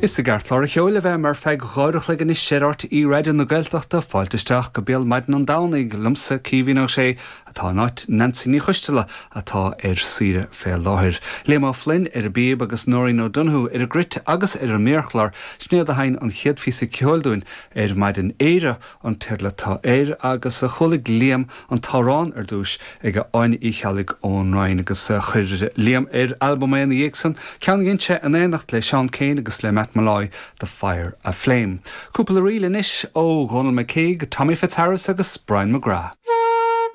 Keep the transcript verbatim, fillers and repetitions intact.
Is i gceartlár an cheoil a bheam ar feadh dhá uair a chloig anois ar RTÉ Raidió na Gaeltachta fáilte isteach go béal maidin an Domhnaigh liomsa Caoimhín Ó Sé atá in áit Nancy Ní Choisteala atá ar saoire fé láthair. Liam Ó Floinn ar an bpíob agus Nóirín O'Donoghue ar an gcruit agus ar an méarchlár Sinéad a sheinn an chéad phíosa ceoil dúinn ar maidin Éire an teideal atá air agus a chuala Liam an t-amhrán ar dtús ag Áine Uí Cheallaigh ón Rinn agus chuir Liam ar albam é ina dhiaidh san ceann a dhein sé in éineacht le Seán Keane agus le Matt Molloy The Fire Aflame. Cúpla ríl anois ó Dhónal McCague, Tommy Fitzharris agus Brian McGrath.